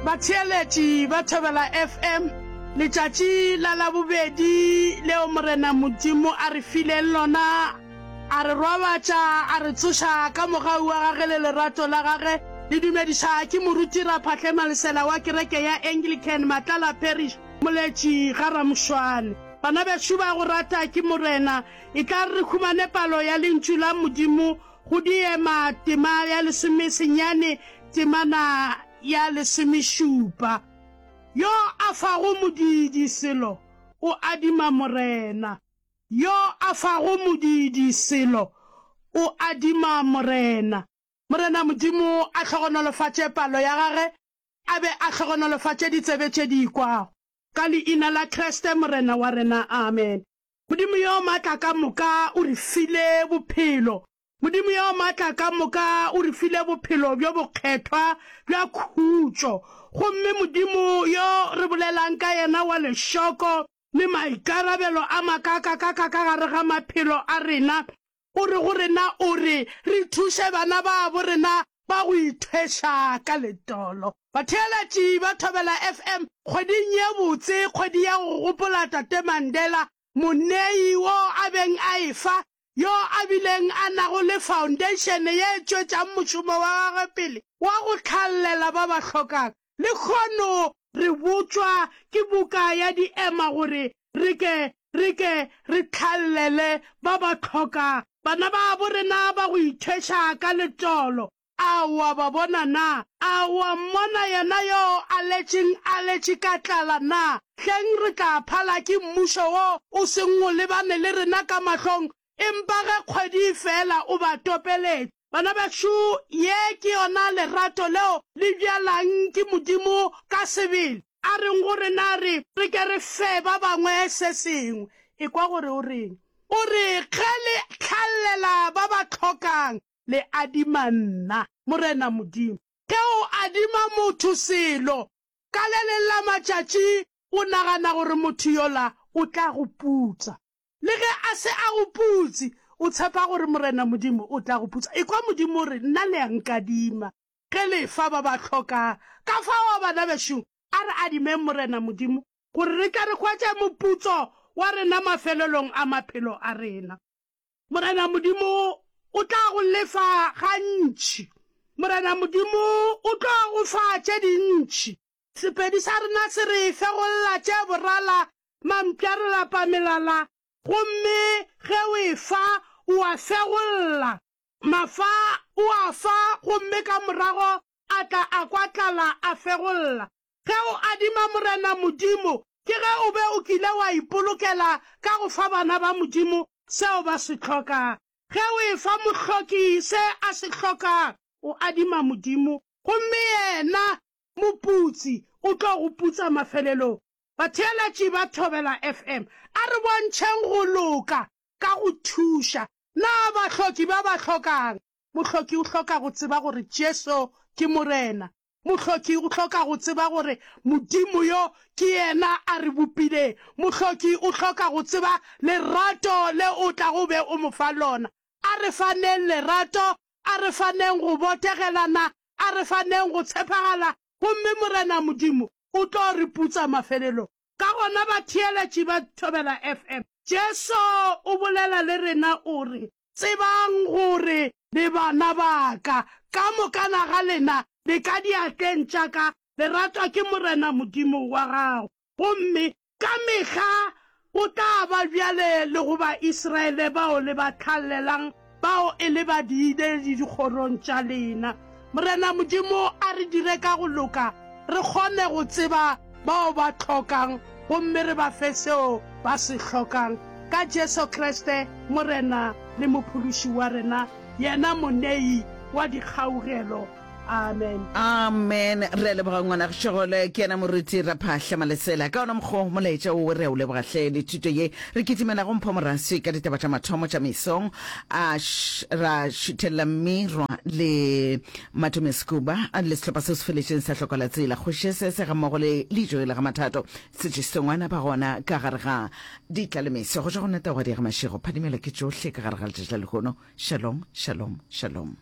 Batheeletši ba Thobela FM, letšatši la Labobedi leo Morena Modimo a re fileng lona, a re robatša, a re tsoša ka mogau wa gage le lerato la gage, le dumediša ke Moruti Raphahle Malesela wa kereke ya Anglican Matlala Parish, Moletši ga Ramošwane. Bana bešo ba go rata ke Morena, e tla re re humane palo ya Lentšu la Modimo go Diema tema ya lesomesenyane temana ya lesomešupa. Yo a fago modiidi selo o adima Morena. Yo a fago modiidi selo o adima Morena. Morena Modimo a hlogonolofatše palo ya gage, a be a hlogonolofatše ditsebe tše di ikwago. Ka Leina la Kriste Morena wa rena. Amen. Modimo yo maatla ka moka o re file bophelo. Modimo yo maatla ka moka o re file bophelo bjo bokgethwa bja khutšo. Gomme Modimo yo re bolelang ka yena wa lešoko le maikarabelo a makakakaka ka gare ga maphelo a rena, o re go rena, o re re thuše bana babo rena ba go ithweša ka letolo. Batheeletši ba Thobela FM kgweding ye botse, kgwedi ya go gopola Tate Mandela, monei wo a beng a efa, yo a bileng a nago le foundation ye e tšwetšang mošomo wa gagwe pele wa go tlhallela ba ba hlokang. Lehono re botšwa ke buka ya Diema gore re ke re ke re tlhallele ba ba hlokang, bana babo rena ba go ithweša ka letolo. A o a ba bona na? A o a mmona yena yo a letšeng a letše ka tlala na? Hleng re tla phala ke mmušo wo o seng o lebane le rena ka mahlong, empa ge kgwedi e fela o ba topeletše. Bana bešo, ye ke yona lerato leo le bjalang ke Modimo ka sebele. A reng go rena? Re re ke re fe ba bangwe se sengwe. Ekwa gore o reng. O re, Ge le hlalela ba ba hlokang, Le adima nna, Morena Modimo. Ge o adima motho selo, ka le leng la matšatši o nagana gore motho yola o tla go putsa. Le ge a se a go putse, o tshepa gore Morena Modimo o tla go putsa. Ekwa Modimo o re, Nna le a nkadima ge le fa ba ba hlokang. Ka fao, bana bešo, a re adimeng Morena Modimo gore re tle re hwetše moputso wa rena mafelelong a maphelo a rena. Morena Modimo o tla go lefa gantši. Morena Modimo o tlo go fa tše dintši. Sepedi sa rena se re fegolla tše borala, mampša re lapa melala, gomme ge o e fa o a fegolla. Mafa o a fa gomme ka morago a tla a kwa tlala a fegolla. Ge o adima Morena Modimo, ke ge o be o kile wa ipolokela ka go fa bana ba Modimo seo ba se hlokang. Ge o efa mohloki se a se hlokang, o adima Modimo, gomme yena, moputsi, o tlo go putsa mafelelong. Batheeletši ba Thobela FM, a re bontšheng go loka ka go thuša na bahloki ba ba hlokang. Mohloki o hloka go tseba gore Jesu ke Morena. Mohloki o hloka go tseba gore Modimo yo ke yena a re bopileng. Mohloki o hloka go tseba lerato le o tlago be o mo fa lona. A re faneng lerato, a re faneng go botegelana, a re faneng go tshepagala, gomme Morena Modimo o tlo re putsa mafelelong. Ka gona batheeletši ba Thobela FM, Jesu o bolela le rena o re, Tsebang gore le bana ba ka, ka mokana ga lena le ka diatleng tša ka, le ratwa ke Morena Modimo wa gago. Gomme ka mehla go tla ba bjale le go Baisraele bao le ba tlhallelang, bao e le badiiledi dikgorong tša lena. Morena Modimo a re dire ka go loka, re kgone go tseba bao ba hlokang gomme re ba fe seo ba se hlokang, ka Jesu Kriste, Morena le Mophološi wa rena, yena Monei wa dikgaugelo. Amen. Amen. Re a leboga ngwana Šegole, ke yena moruti Raphahla Malesela. Ka ona mokgwa molaetša wo re a o leboga hle le thuto ye. Re kitimela go Mpho Moraswi ka ditaba tša mathomo tša mesong. A ra šuthelela Mmirwa le Matome Sekuba le sehlopha seo se feletšeng sa Hlokola Tsela. Kgoši Sese gammogo le Lejoe la ga Mathato Setše Sengwana ba gona ka gare ga Ditlalemeso. Go tšwa go nna Taugadi ya ga Mashego, phadimela ke tšohle ka gare ga letšatši la lehono. Shalom, shalom, shalom.